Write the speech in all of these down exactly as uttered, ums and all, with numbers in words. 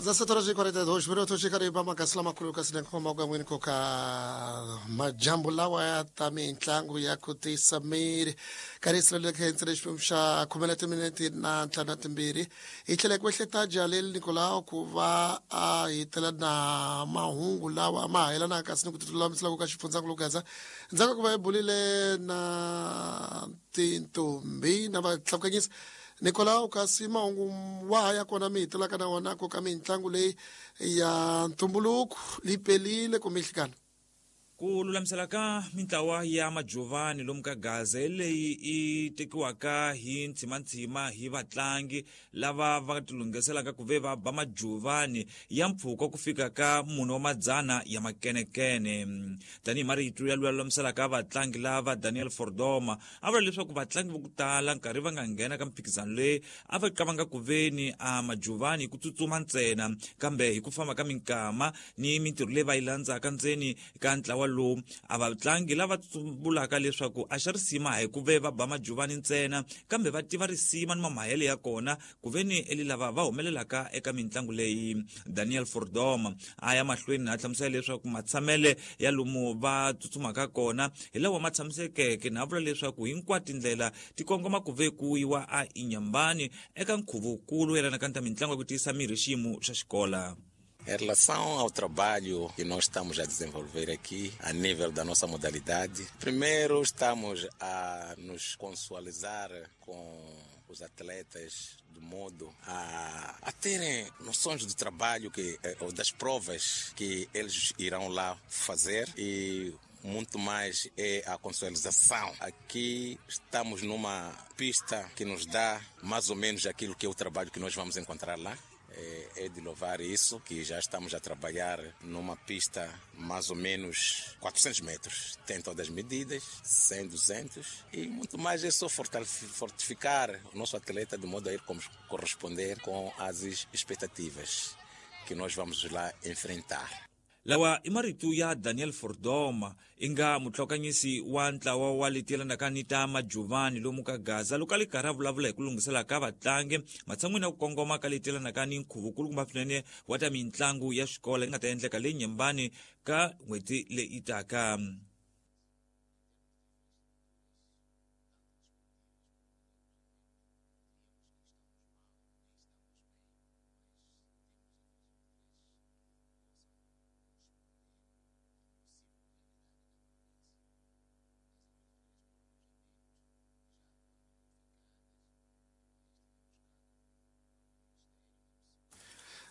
Dezessete horas e quarenta e dois minutos, Kariba Makasla Makulu Kasinenko Magwini Koka Majambo lawa ya ta mintlangu ya ku tisa miri karisa le khentsele xiphemu xa khume na timinete na ntlhanu na timbirhi hi tlhela ku ehleta Jalel Nicolau ku va a hitela na mahungu lawa ma yelanaka kasi ni ku tilulamisela ku ka xifundzankulu Gaza ndzhaku ka ku va hi bulile na tintombi na vatlakukanyisi Nicolau kasi mahungu wa ya kona mi hitelaka na wona ku ka mintlangu leyi ya ntumbuluko li pelile kumbe nhlikana. Ku lulamisela ka mintlawa ya majovani lomu ka Gaza leyi i tekiwaka hi ntsimantsima hi vatlangi lava va tilunghiselaka ku ve va ba majovani ya mpfhuka ku fika ka mune wa madzana ya makenekene. Tanihi marito ya lulamiselaka vatlangi lava Daniel Fordoma a vula leswaku vatlangi vo ku tala nkarhi va nga nghena ka mphikizano leyi a va qavanga ku veni a majovani hi ku tsutsuma ntsena, kambe hi ku famba ka minkama ni mintirho leyi va yi landzaka ndzeni ka ntlawa lowu a vatlangi lava vulaka leswaku a xa risima hi ku ve va ba majovani ntsena, kambe va tiva risima ni mamahele ya kona ku ve ni eli lava va humelelaka eka mintlangu leyi. Daniel Fordoma a ya mahlweni a hlamusela leswaku matshamele ya lomu va tsutsumaka kona hi lawa ma tshamisekeke, na vula leswaku hinkwato tindlela ti kongoma ku ve ku yiwa a Inyambani eka nkhuvukulu yelanaka ni ta mintlangu ya ku tiyisa miri xiyimo xa xikola. Em relação ao trabalho que nós estamos a desenvolver aqui, a nível da nossa modalidade, primeiro estamos a nos consualizar com os atletas de modo a, a terem noções do trabalho que, ou das provas que eles irão lá fazer, e muito mais é a consualização. Aqui estamos numa pista que nos dá mais ou menos aquilo que é o trabalho que nós vamos encontrar lá. É de louvar isso, que já estamos a trabalhar numa pista mais ou menos quatrocentos metros. Tem todas as medidas, cem, duzentos, e muito mais é só fortificar o nosso atleta de modo a ir corresponder com as expectativas que nós vamos lá enfrentar. Lawa i marito ya Daniel Fordoma inga mutlhokanyisi wa ntlawa wa leti yelanaka ni ta majovani lomu ka Gaza loko a li karhi a vulavula hi ku lunghisela ka vatlangi matshan'wini ya ku kongoma ka leti yelanaka ni nkhuvo kumbe swinene wa ta mintlangu ya xikolo yi nga ta endleka le Nyembani ka n'hweti leyi taka.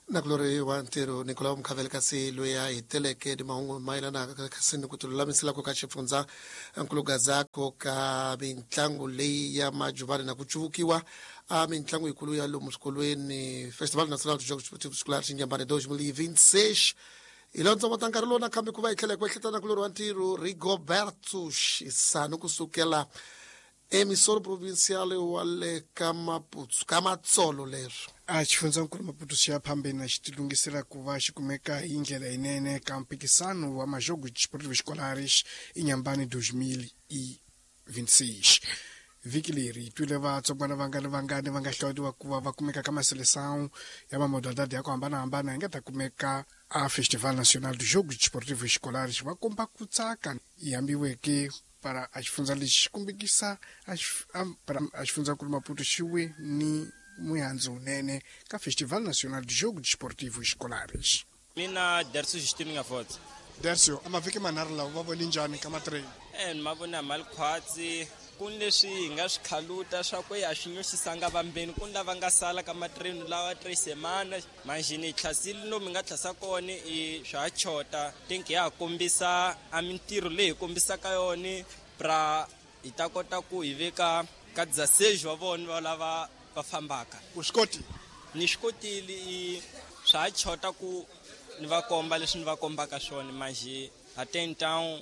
Nakulori wa ntirho Nicolau Mkhavele kasi loyi a hiteleke ni mahungu mayelanaka kasi ni ku tilulamisela ku ka xifundza nkulu Gaza ku ka mintlangu leyi ya majovani na ku cuvukiwa a mintlangu yikulu ya lomu swikolweni Festival Nacional de Jogos Esportivos Escolares Inhambane dois mil e vinte e seis. Hi lontsongo ta nkarhi lowu nakambe ku va hi tlhela hi ku ehleketa nakulori wa ntirho Rigoberto Xisano kusukela emissora provincial wa le ka Maputo ka Matsolo leswo. A xifundzankulu Maputo xi ya phambeni xi tilunghisela ku va xi kumeka hi ndlela yinene ka mpikisano wa Majogos Desportivos Escolares Inhambane dois mil e vinte e seis. Vhiki leri hi twile vatsongwana vangani vangani va nga hlawuriwa ku va va kumeka ka maseleção ya mamodalidade ya ku hambanahambana yi nga ta kumeka a Festival Nacional dos Jogos Desportivos Escolares va komba ku tsaka yi hambiweke para a xifundza lexi xi kombekisa para a xifundzankulu Maputo xi we ni muhandzu wunene ka Festival Nacional de Jogos Desportivos Escolares. Mina Dercio Justino Ngafotse. Dercio, a mavhiki manharhu lawa va vone njhani ka matrain? Eh, ni ma vona mali khwatsi ku ni leswi hi nga swi khaluta swa ku ya swi nyuxisanga vambeni ku ni lava nga sala ka matrain lawa tres semana manjhini hi tlhasile lomu hi nga tlhasa kona i swa ha chota tinki ya ha kombisa a mintirho leyi hi kombisaka yona pra hi ta kota ku hi veka ka dezesseis wa vona va lava va fambaka. U swi koti? Ni swi kotile, i swa ha chota ku ni va komba leswi ni va kombaka swona manjhe até então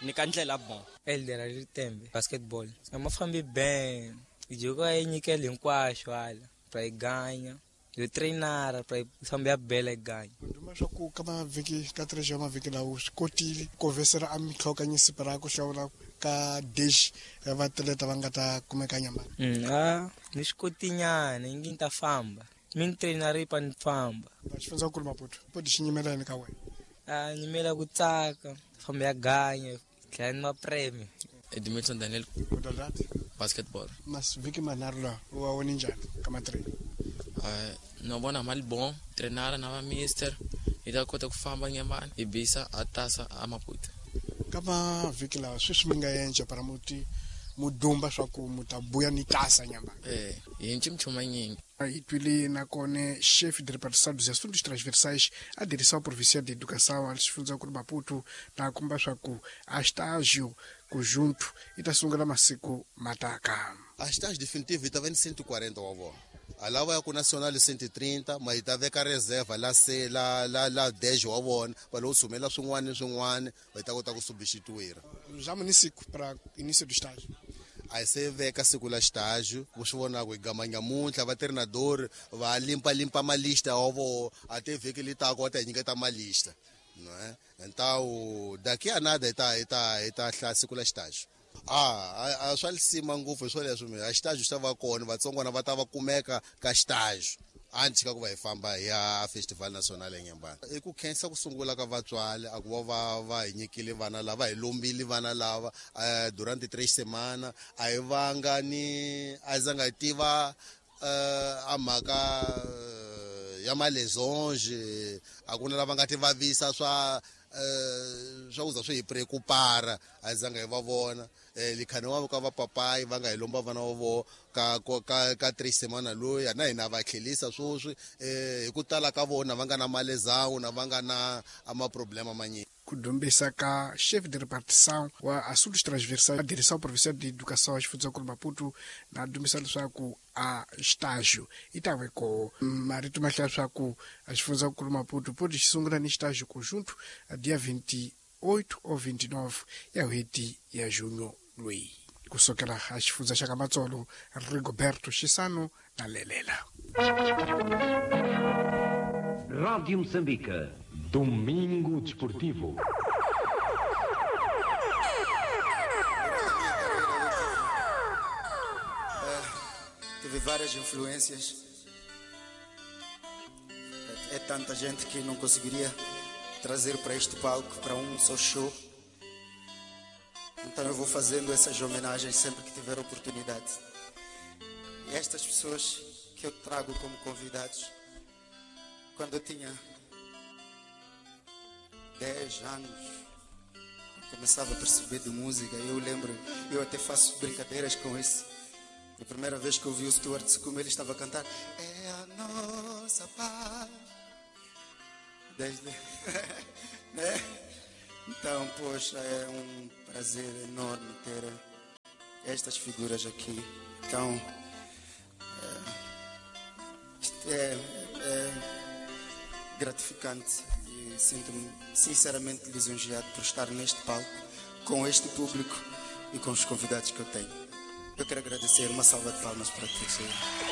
ni ka ndlela bon. Elder Ritembe basketball a ma fambi ben joko yi nyikela hinkwaswo hala pra yi ganya yo trainara pra yi famba ya bela yi ganya. Nduma swa ku ka mavhiki ka tres ya mavhiki lawo swi kotile ku vesela a mitlhokanyisi pra ku hlawula ka dish ya vatleta va nga ta kumeka Nyambani. Mm, a ni swi kotinyana yi ngi ni ta famba mi ni trainari pa ni famba. Xifundzankulu Maputo po ti xi nyimela yini ka wena? A nyimela ku tsaka, famba ya ganya, tlhela ni mapreme. Edmilson Daniel. Modalidade? Basketball. Mas vhiki manharhu lawa u wa vone njhani ka matreni? Uh, no vona mali bon, trenara na va mister, hi ta kota ku famba Nyambani, hi bisa a tasa a Maputo. Ka mavhiki lawa sweswi mi nga endla para muti mudumba swa ku mu ta buya ni tasa Nyambani. Eh, hi nci minchumu nyingi. Hi twile nakona chefe de repartição dos assuntos transversais a direção provincial de educação a xifundzankulu Maputo na komba swa ku a estágio conjunto i ta sungula masiku mataka. A estágio definitivo i ta va ni cento e quarenta wa vona. A lava ya ku nacional cento e trinta, ma yi ta veka reserva la se la la la dez wa vona, va lo sumela swin'wana ni swin'wana, va ta kota ku substituir. Já município para início do estágio. A hi se veka siku la estágio, vo swi vona ku hi gama nyamuntlha va treinador va limpa limpa malista wa vona, a te vhiki li taka va ta hi nyiketa malista. Não é? Então, daqui a nada hi ta hi ta hi ta hlaya siku la estágio. Ah, a swa lisima ngopfu hi swoleswo mina. A estágio xi ta va kona, vatsongwana va ta va kumeka ka estágio. Antes ka ku va hi famba hi ya Festival Nacional eNyambani. I ku khensa ku sungula ka vatswari a ku va va va hi nyikile vana lava, hi lombile vana lava durante três semana, a hi vanga ni a zanga hi tiva a mhaka ya malesonge, a ku na lava nga ti vavisa swa swa kuza swi hi preocupara, a hi zanga hi va vona. Likhani wa ka va papayi va nga hi lomba vana va vona ka ka ka três semana loyi na hina va tlhelisa sweswi hi ku tala ka vona va nga na malezawu na va nga na maproblema manyingi. Ku dumbisa ka chefe de repartição wa assuntos transversais a direção provincial de educação xifundzankulu Maputo na dumbisa leswaku a estágio i ta ve ko marito ma hlaya swa ku a xifundzankulu Maputo po ti xi sungula ni estágio conjunto a dia vinte e oito ou vinte e nove ya n'hweti ya junho loyi. Kusukela a xifundza xa ka Matsolo, Rigoberto Xisano na Lelela. Rádio Moçambique, Domingo Desportivo. É, tive várias influências. É, é tanta gente que não conseguiria trazer para este palco, para um só show. Então eu vou fazendo essas homenagens sempre que tiver oportunidade. E estas pessoas que eu trago como convidados, quando eu tinha dez anos, começava a perceber de música. Eu lembro, eu até faço brincadeiras com isso. A primeira vez que eu vi o Stuart Sucumbi, ele estava a cantar É a nossa paz. Desde... né? Então, poxa, é um prazer enorme ter estas figuras aqui. Então, é, é, é gratificante e sinto-me sinceramente lisonjeado por estar neste palco, com este público e com os convidados que eu tenho. Eu quero agradecer, uma salva de palmas para todos.